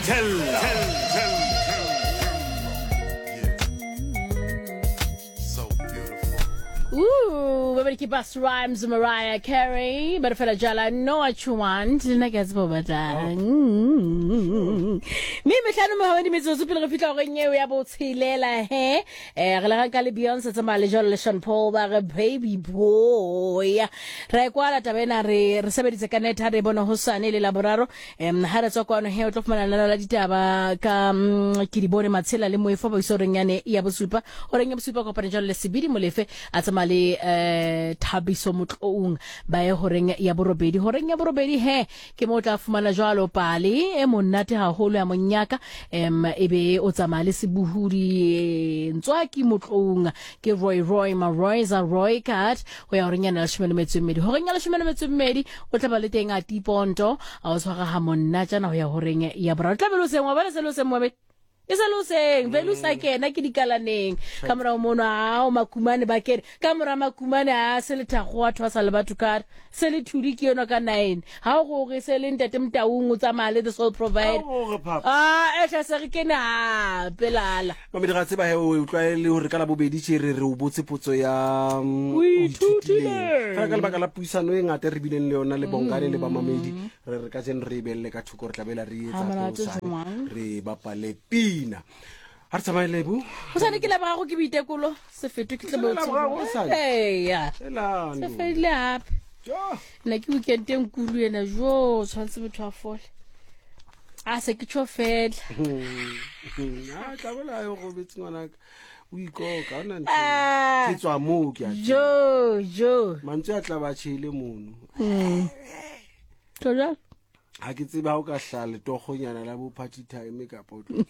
Thella. Ooh, ba ke Busta Rhymes, Mariah Carey, ba re fela jala know what you want, le nna ke a tseba o batlang. Mme metlhano mohamadi metsotso pele re fitlha goreng eo ya botshelela he. Eh re le ga ka le Beyonce tsamaya le jalo le Sean Paul ba re baby boy. Ra e kwala taba ena re re sebeditse ka net ha re bone hosane le laboraro. Em ha re tswa kwano he o tlo fumana lenaneo la ditaba ka mm, ke di bone matshela le moefo ba iso reng yane ya bosupa. O reng ya bosupa kopane jalo le Sebidi Molefe a tsamaya le eh Thabiso Motloung ba ye horeng ya borobedi. Horeng ya borobedi he ke mo o tla fumana jwalo pale e monate haholo ya monyaka em e be o tsamaya le sebohodi Ntswaki Motloung ke Roy Roy Maroyza Roy Card go ya horeng ya leshome le metso e mmedi. Horeng ya leshome le metso e mmedi o tla ba le teng a tiponto a o tshwara ga monna tjana ho ya horeng ya boraro. Tla be le hoseng wa bona se le hoseng moabedi. E se le hoseng vele o sa kena ke dikalaneng ka morago mono ao makumane ba kene ka mora makumane a se le thakgo wa thwasa le batho ka se le thudi ke yona ka 9 ha o gore se le ntate Motaung o tsamaya le the soul provide Ha o gore, papa. ah e tla se re kene hape lala Mamedi ga tseba he o utlwa le gore ka labobedi tše re re o botse potso ya O ithutileng. Fela ka lebaka la puisano e ngata e re bileng le yona le Bongane le bamamedi re re ka jeno re e beelle ka thoko re tla bela re etsa Ha monate hosane, jwang? re bapale pina ga re tsamaye lebo go sane ke lebogago ke boitekolo se fetwe ke Ke lebogago hosane? eya Elane. se fedile gape Jo. nna ke weekend e nkulu ena jo tshwanetse motho a fole a se ke tsho fela a tla bola yo gobetse ngwanaka o ikoka o na ntho Ah. ke tswa moo ke a tseba. jo jo mantswe a tla ba tšhele mono tlo jalo ga ke tsebe ga o ka hlaya letogonyana la bo party time kapa o tlo